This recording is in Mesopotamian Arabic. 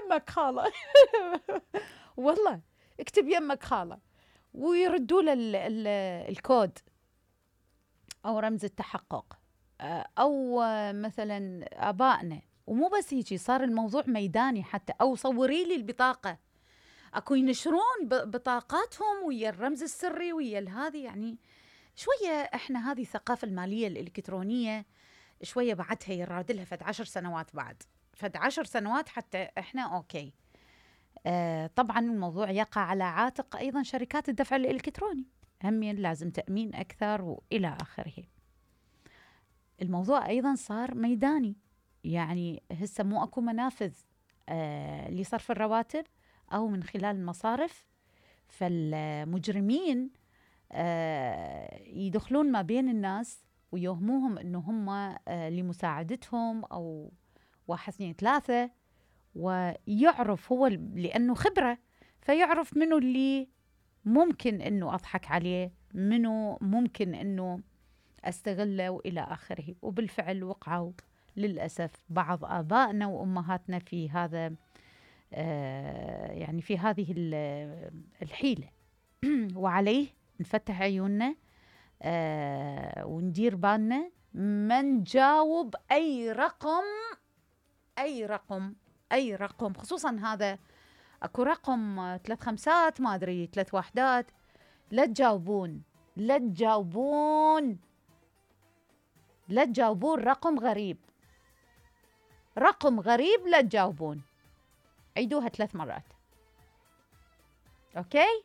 يمك خالة. والله اكتب يمك خالة، ويردوا له الكود أو رمز التحقق. أو مثلا آبائنا، ومو بس هيجي، صار الموضوع ميداني حتى. أو صوري لي البطاقة، أكو ينشرون بطاقاتهم ويا الرمز السري ويا هذه. يعني شوية إحنا هذه الثقافة المالية الإلكترونية شوية بعدها يرادلها فد 10 سنوات، بعد فد 10 سنوات حتى إحنا أوكي. طبعا الموضوع يقع على عاتق أيضا شركات الدفع الإلكتروني، همين لازم تأمين أكثر وإلى آخره. الموضوع أيضا صار ميداني، يعني هسه مو أكو منافذ لصرف الرواتب أو من خلال المصارف، فالمجرمين يدخلون ما بين الناس ويوهموهم أنه هم لمساعدتهم أو 1 2 3، ويعرف هو لأنه خبرة، فيعرف منو اللي ممكن أنه أضحك عليه، منو ممكن أنه أستغله وإلى آخره. وبالفعل وقعوا للأسف بعض آبائنا وأمهاتنا في هذا، يعني في هذه الحيلة. وعليه نفتح عيوننا وندير بالنا، ما نجاوب أي رقم، أي رقم، أي رقم، خصوصا هذا أكو رقم 3 5 ما أدري 3 1. لا تجاوبون، لا تجاوبون، لا تجاوبون رقم غريب، رقم غريب لا تجاوبون. عيدوها 3 مرات. أوكي؟